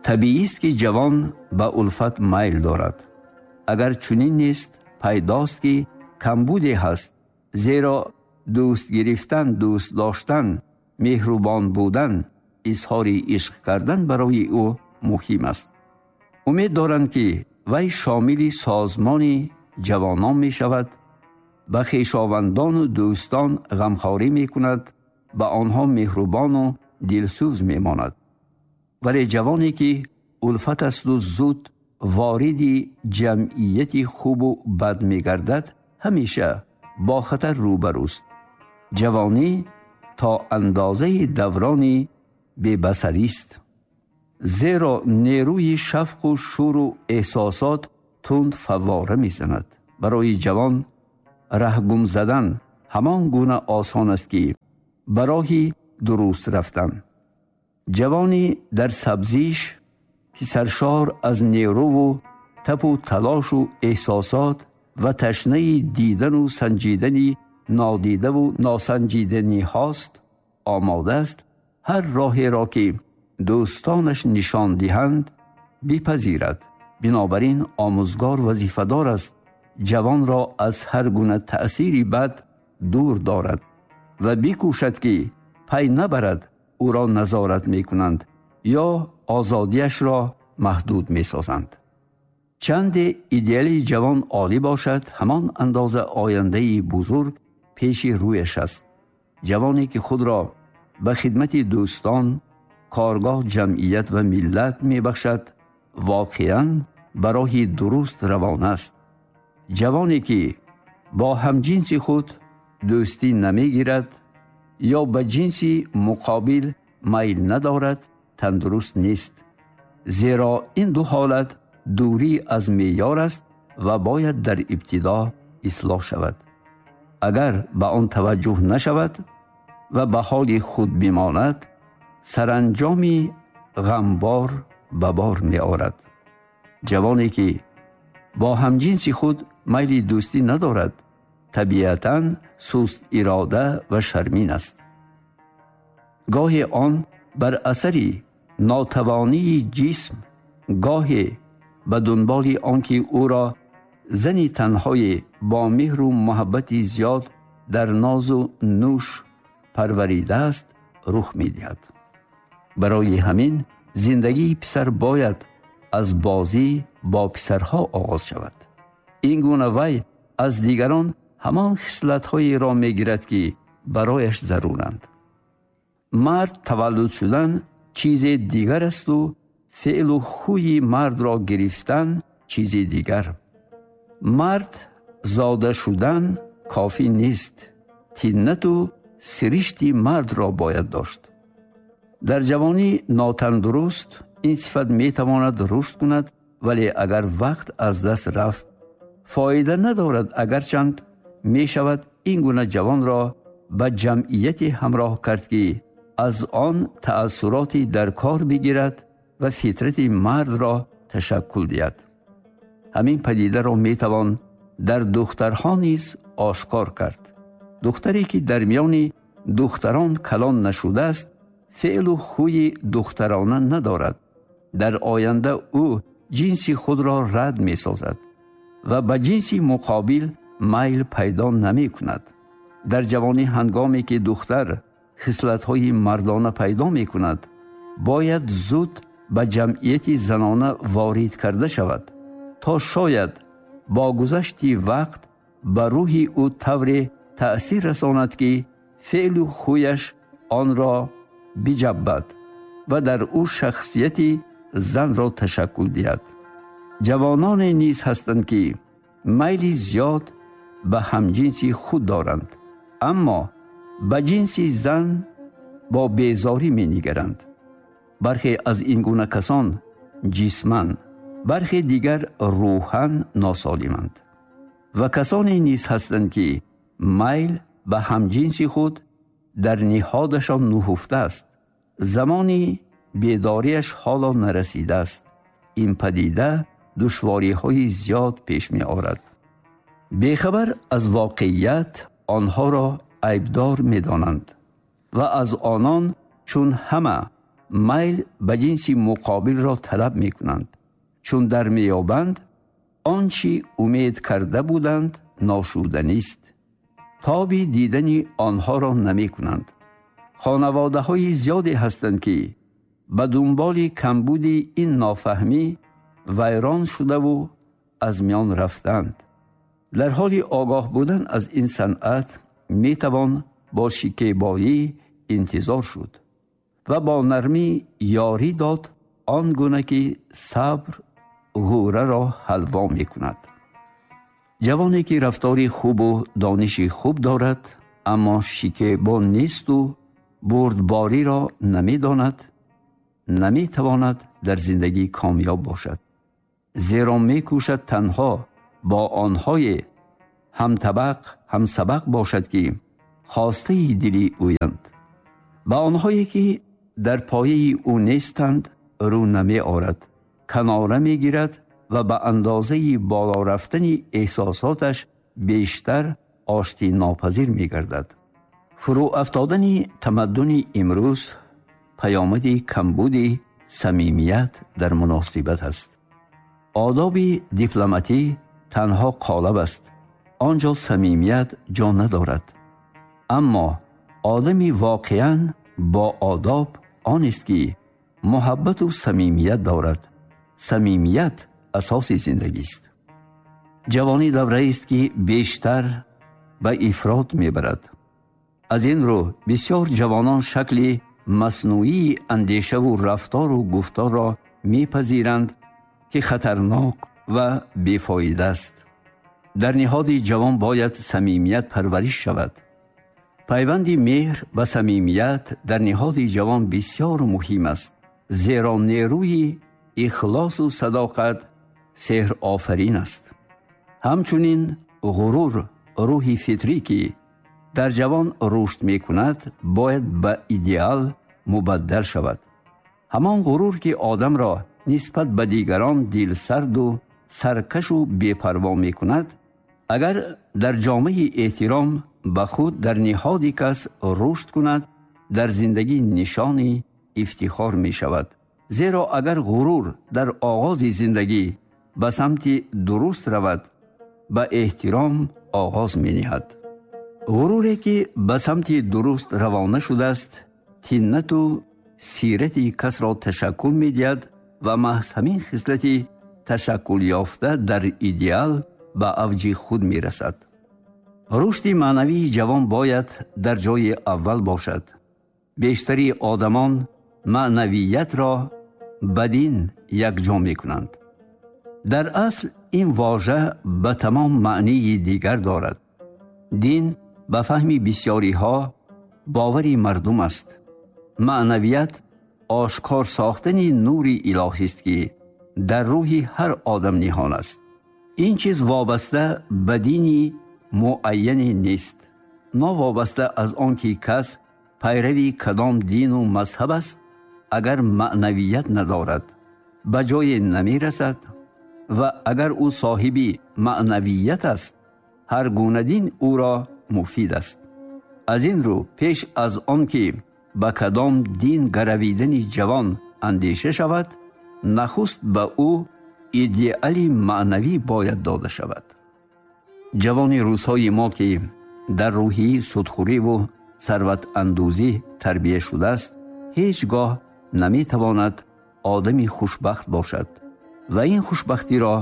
Табиист, ки ҷавон ба улфат майл дорад. Агар чунин нест, пайдост, ки камбуде ҳаст, зеро дӯст гирифтан, дӯст доштан, меҳрубон будан, изҳори ишқ кардан барои ӯ муҳим аст. Умед доранд, ки вай шомили созмони ҷавонон мешавад, ба хешовандону дӯстон ғамхорӣ мекунад, ба онҳо меҳрубону дилсӯз мемонад. Вале ҷавоне, ки улфат асту зуд вориди ҷамъияти хубу бад мегардад, ҳамеша бо хатар рӯбарӯст. Ҷавонӣ то андозаи даврони бебасарист, зеро нерӯи шавқу шӯру эҳсосот тунд фаввора мезанад. Барои ҷавон раҳгум задан ҳамон гуна осон аст, ки ба роҳи дуруст рафтан. Ҷавони дар сабзиш, ки саршор аз нерӯву тапу талошу эҳсосот ва ташнаи дидану санҷидани нодидаву носанҷиданиҳост, омода аст ҳар роҳеро, ки дӯстонаш нишон диҳанд, бипазирад. Бинобар ин омӯзгор вазифадор аст ҷавонро аз ҳар гуна таъсири бад дур дорад ва бикӯшад, ки пай набарад ӯро назорат мекунанд ё озодиашро маҳдуд месозанд. Чанде идеали ҷавон олӣ бошад, ҳамон андоза ояндаи бузург пеши рӯяш аст. Ҷавоне, ки худро ба хидмати дӯстон, коргоҳ, ҷамъият ва миллат мебахшад, воқеан ба роҳи дуруст равон аст. Ҷавоне, ки бо ҳамҷинси худ дӯстӣ намегирад ё ба ҷинси муқобил майл надорад, тандуруст нест, зеро ин ду ҳолат дурӣ аз меъёр аст ва бояд дар ибтидо ислоҳ шавад. Агар ба он таваҷҷӯҳ нашавад ва ба ҳоли худ бимонад, саранҷоми ғамбор ба бор меорад. Ҷавоне, ки бо ҳамҷинси худ майли дӯстӣ надорад, табиатан суст ирода ва шармин аст. Гоҳе он бар асари нотавонии ҷисм, гоҳе ба дунболи он ки ӯро зани танҳое бо меҳру муҳаббати зиёд дар нозу нӯш парваридааст, рух медиҳад. Барои ҳамин зиндагии писар бояд аз бозӣ бо писарҳо оғоз шавад. Ин гуна вай аз дигарон ҳамон хислатҳоеро мегирад, ки барояш заруранд. Мард таваллуд шудан чизе дигар асту феълу хӯи мардро гирифтан чизи дигар. Мард зода шудан кофӣ нест, тиннату сиришти мардро бояд дошт. Дар ҷавонӣ нотандуруст ин сифат метавонад рушд кунад, вале агар вақт аз даст рафт, фоида надорад. Агарчанд мешавад ин гуна ҷавонро ба ҷамъияте ҳамроҳ кард, ки аз он таассуроти дар кор бигирад ва фитрати мардро ташаккул диҳад. Ҳамин падидаро метавон дар духтарҳо низ ошкор кард. Духтаре, ки дар миёни духтарон калон нашудааст, феълу хӯи духтарона надорад. Дар оянда ӯ ҷинси худро рад месозад ва ба ҷинси муқобил майл пайдо намекунад. Дар ҷавонӣ, ҳангоме ки духтар хислатҳои мардона пайдо мекунад, бояд зуд ба ҷамъияти занона ворид карда шавад, то шояд бо гузашти вақт ба рӯҳи ӯ тавре таъсир расонад, ки феълу хӯяш онро биҷаббад ва дар ӯ шахсияти занро ташаккул диҳад. Ҷавононе низ ҳастанд, ки майли зиёд ба ҳамҷинси худ доранд, аммо ба ҷинси зан бо безорӣ менигаранд. Бархе аз ин гуна касон ҷисман, бархе дигар рӯҳан носолиманд. Ва касоне низ ҳастанд, ки майл ба ҳамҷинси худ дар ниҳодашон нуҳуфта аст, замони бедориаш ҳоло нарасидааст. Ин падида душвориҳои зиёд пеш меорад. Бехабар аз воқеият онҳоро айбдор медонанд ва аз онон чун ҳама майл ба ҷинси муқобилро талаб мекунанд. Чун дар меёбанд, он чӣ умед карда буданд ношуданист. Тоби дидани онҳоро намекунанд. Хонаводаҳои зиёде ҳастанд, ки ба дунболи камбуди ин нофаҳмӣ вайрон шудаву аз миён рафтанд. Дар ҳоли огоҳ будан аз ин санъат метавон бо шикебоӣ интизор шуд ва бо нармӣ ёрӣ дод, он гуна ки сабр ғӯраро ҳалво мекунад. Ҷавоне ки рафтори хубу дониши хуб дорад, аммо шикебо несту бурдбориро намедонад, наметавонад дар зиндагӣ комёб бошад, зеро мекӯшад танҳо бо онҳое ҳамтабақ, ҳамсабақ бошад, ки хостаи дили ӯянд. Ба онҳое ки дар пояи ӯ нестанд рӯ намеорад, канора мегирад ва ба андозаи боло рафтани эҳсосоташ бештар оштинопазир мегардад. Фурӯ афтодани тамаддуни имрӯз паёмади камбуди самимият дар муносибат аст. Одоби дипломатӣ танҳо қолаб аст, он ҷо самимият ҷо надорад. Аммо одами воқеан бо одоб он аст, ки муҳаббату самимият дорад. Самимият асоси зиндагист. Ҷавонӣ давраест, ки бештар ба ифрот мебарад. Аз ин рӯ бисёр ҷавонон шакли маснӯии андешаву рафтору гуфторро мепазиранд, ки хатарнок ва бефоида аст. Дар ниҳоди ҷавон бояд самимият парвариш шавад. Пайванди меҳр ба самимият дар ниҳоди ҷавон бисёр муҳим аст, зеро нерӯи ихлосу садоқат сеҳрофарин аст. Ҳамчунин ғурур, рӯҳи фитрӣ, ки дар ҷавон рушд мекунад, бояд ба идеал мубаддал шавад. Ҳамон ғурур, ки одамро нисбат ба дигарон дилсарду саркашу бепарво мекунад, агар дар ҷомаи эҳтиром ба худ дар ниҳоди кас рушд кунад, дар зиндагӣ нишони ифтихор мешавад. Зеро агар ғурур дар оғози зиндагӣ ба самти дуруст равад, ба эҳтиром оғоз мениҳад. Ғуруре, ки ба самти дуруст равона шудааст, тиннату сирати касро ташаккул медиҳад ва маҳз ҳамин хислати ташаккулёфта дар идеал ба авҷи худ мерасад. Рушди маънавии ҷавон бояд дар ҷои аввал бошад. Бештари одамон маънавиятро ба дин якҷо мекунанд. Дар асл ин вожа ба тамом маънии дигар дорад. Дин ба фаҳми бисёриҳо бовари мардум аст. Маънавият ошкор сохтани нури илоҳист, ки дар рӯҳи ҳар одам ниҳон аст. Ин чиз вобаста ба дини муайяне нест. Новобаста аз он ки кас пайрави кадом дину мазҳаб аст, агар маънавият надорад, ба ҷое намерасад ва агар ӯ соҳиби маънавият аст, ҳар гуна дин ӯро муфид аст. Аз ин рӯ пеш аз он ки ба кадом дин гаравидани ҷавон андеша шавад, нахуст ба ӯ идеали маънавӣ бояд дода шавад. Ҷавони рӯзҳои мо, ки дар рӯҳии судхӯриву сарватандӯзӣ тарбия шудааст, ҳеҷ гоҳ наметавонад одами хушбахт бошад ва ин хушбахтиро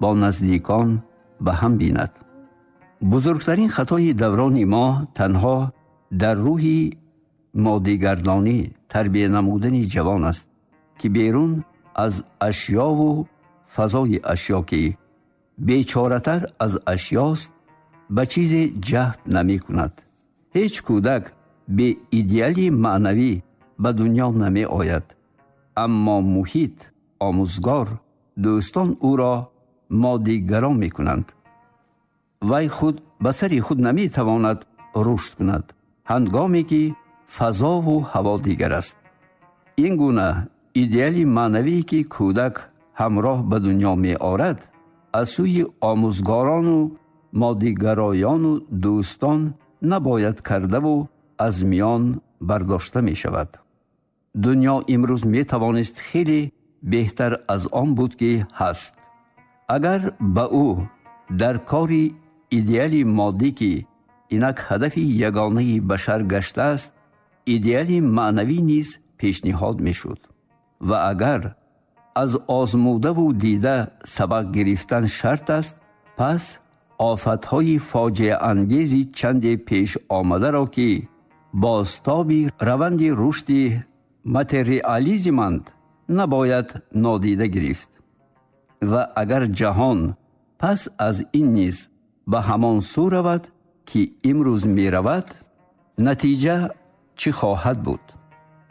бо наздикон ба ҳам бинад. Бузургтарин хатои даврони мо танҳо дар рӯҳи моддигардонӣ тарбия намудани ҷавон аст, ки берун аз ашёву фазои ашё, ки бечоратар аз ашёст, ба чизе ҷаҳд намекунад. Ҳеҷ кӯдак бе идеали маънавӣ ба дунё намеояд, аммо муҳит, омӯзгор, дӯстон ӯро моддигарон мекунанд. Вай худ ба сари худ наметавонад рушд кунад, ҳангоме ки фазову ҳаво дигар аст. Ин гуна идеали маънавӣ, ки кӯдак ҳамроҳ ба дунё меорад, аз сӯи омӯзгорону моддигароёну дӯстон набояд кардаву аз миён бардошта мешавад. Дунё имрӯз метавонист хеле беҳтар аз он буд, ки ҳаст. Агар ба ӯ дар кори идеали моддӣ, ки инак ҳадафи ягонаи башар гаштааст, идеали маънавӣ низ пешниҳод мешуд. Ва агар аз озмудаву дида сабақ гирифтан шарт аст, пас офатҳои фоҷиаангези чанде пеш омадаро, ки бозтоби раванди рушди материализманд, набояд нодида гирифт. Ва агар ҷаҳон пас аз ин низ ба ҳамон сӯ равад, ки имрӯз меравад, натиҷа чӣ хоҳад буд?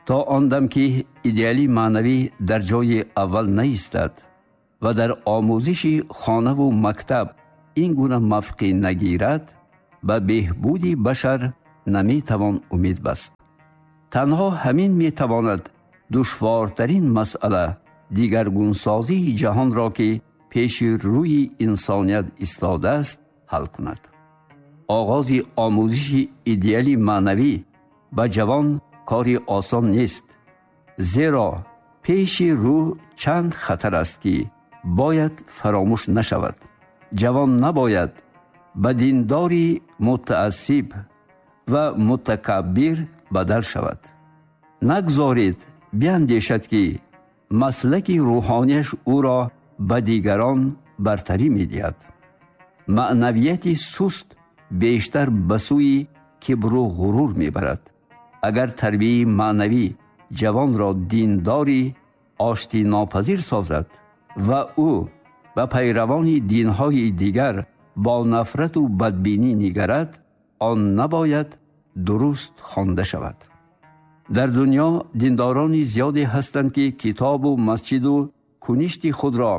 То он дам ки идеали маънавӣ дар ҷои аввал наистад ва дар омӯзиши хонаву мактаб ин гуна мавқеъ нагирад, ба беҳбуди башар наметавон умед баст. Танҳо ҳамин метавонад душвортарин масъала, дигаргунсозии ҷаҳонро, ки пеши рӯи инсоният истодааст, ҳал кунад. Оғози омӯзиши идеали маънавӣ ба ҷавон кори осон нест, зеро пеши рӯ чанд хатар аст, ки бояд фаромӯш нашавад. Ҷавон набояд ба диндори мутаассиб ва мутакаббир бадал шавад. Нагзоред биандешад, ки маслаки рӯҳонияш ӯро ба дигарон бартарӣ медиҳад. Маънавияти суст бештар ба сӯи кибру ғурур мебарад. Агар тарбияи маънавӣ ҷавонро диндори оштинопазир созад ва ӯ ба пайравони динҳои дигар бо нафрату бадбинӣ нигарад, он набояд дуруст хонда шавад. Дар дунё диндорони зиёде ҳастанд, ки китобу масҷиду куништи худро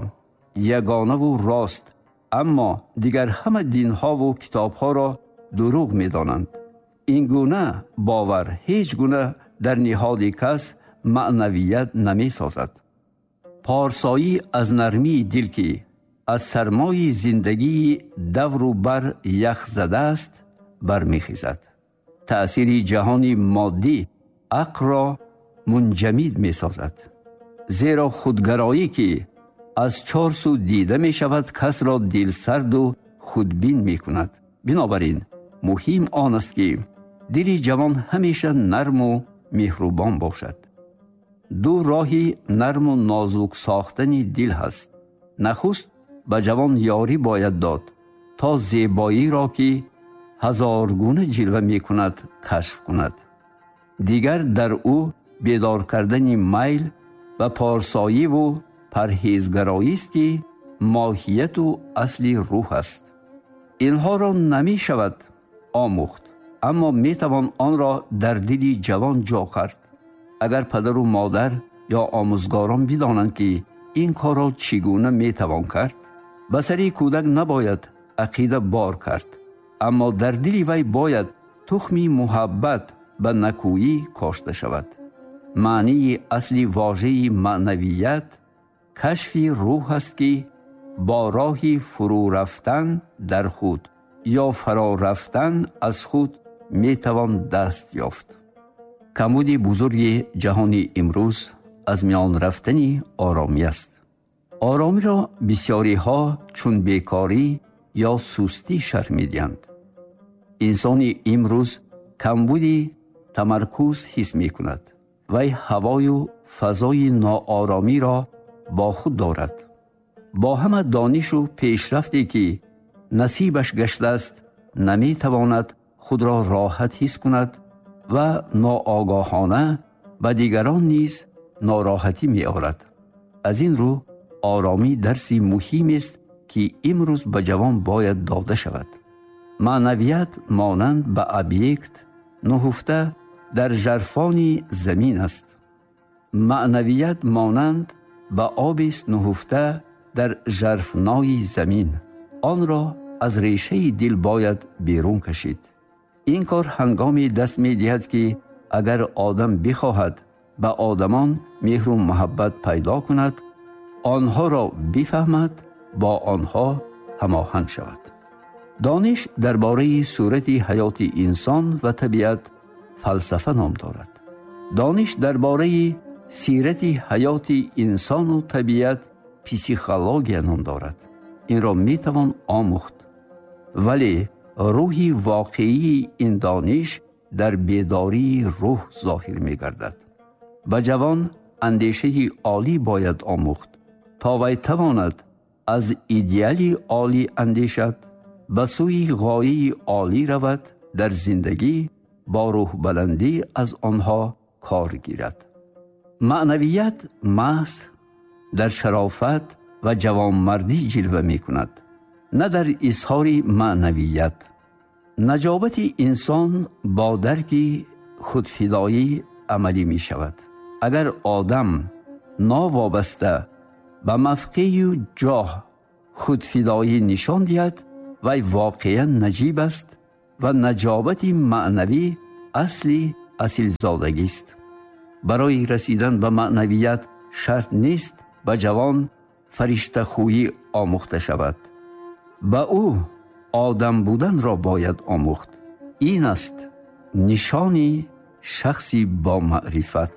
ягонаву рост, аммо дигар ҳама динҳову китобҳоро дурӯғ медонанд. Ин гуна бовар ҳеҷ гуна дар ниҳоди кас маънавият намесозад. Порсоӣ аз нармии дил, ки аз сармои зиндагии давру бар ях задааст, бармехезад. Таъсири ҷаҳони моддӣ ақлро мунҷамид месозад, зеро худгароӣ, ки аз чор сӯ дида мешавад, касро дилсарду худбин мекунад. Бинобар ин муҳим он аст, ки дили ҷавон ҳамеша нарму меҳрубон бошад. Ду роҳи нарму нозук сохтани дил ҳаст. Нахуст ба ҷавон ёрӣ бояд дод, то зебоиро, ки ҳазоргуна ҷилва мекунад, кашф кунад. Дигар дар ӯ бедор кардани майл ба порсоиву парҳезгароист, ки моҳияту асли рӯҳ аст. Инҳоро намешавад омӯхт, аммо метавон онро дар дили ҷавон ҷо кард. Агар падару модар ё омӯзгорон бидонанд, ки ин корро чӣ гуна метавон кард, ба сари кӯдак набояд ақида бор кард, аммо дар дили вай бояд тухми муҳаббат ба накӯӣ кошта шавад. Маънии асли вожаи маънавият кашфи рӯҳ аст, ки бо роҳи фурӯ рафтан дар худ ё фаро рафтан аз худ метавон даст ёфт. Камбуди бузурги ҷаҳони имрӯз аз миён рафтани оромӣ аст. Оромиро бисёриҳо чун бекорӣ ё сустӣ шарҳ медиҳанд. Инсони имрӯз камбуди тамаркуз ҳис мекунад. Вай ҳавою фазои ноОромиро бо худ дорад. Бо ҳама донишу пешрафте, ки насибаш гаштааст, наметавонад худро роҳат ҳис кунад ва ноогоҳона ба дигарон низ нороҳатӣ меорад. Аз ин рӯ оромӣ дарси муҳимест, ки имрӯз ба ҷавон бояд дода шавад. Маънавият монанд ба объект нуҳуфта дар жарфони замин аст. Маънавият монанд ба обест нуҳуфта дар жарфнои замин. Онро аз решаи дил бояд берун кашид. Ин кор ҳангоме даст медиҳад, ки агар одам бихоҳад ба одамон меҳру муҳаббат пайдо кунад, онҳоро бифаҳмад, бо онҳо ҳамоҳанг шавад. Дониш дар бораи сурати ҳаёти инсон ва табиат фалсафа ном дорад. Дониш дар бораи сирати ҳаёти инсону табиат психология ном дорад. Инро метавон омӯхт, вале рӯҳи воқеии ин дониш дар бедории рӯҳ зоҳир мегардад. Ба ҷавон андешаи олӣ бояд омӯхт, то вай тавонад аз идеали олӣ андешад, ба сӯи ғояи олӣ равад, дар зиндагӣ бо рӯҳбаландӣ аз онҳо кор гирад. Маънавият маҳз дар шарофат ва ҷавонмардӣ ҷилва мекунад, на дар изҳори маънавият. Наҷобати инсон бо дарки худфидоӣ амалӣ мешавад. Агар одам новобаста ба мавқею ҷоҳ худфидоӣ нишон диҳад, вай воқеан наҷиб аст ва наҷобати маънавӣ асли асилзодагист. Барои расидан ба маънавият шарт нест ба ҷавон фариштахӯӣ омӯхта шавад. Ба ӯ одам буданро бояд омӯхт. Ин аст нишони шахси бомаърифат.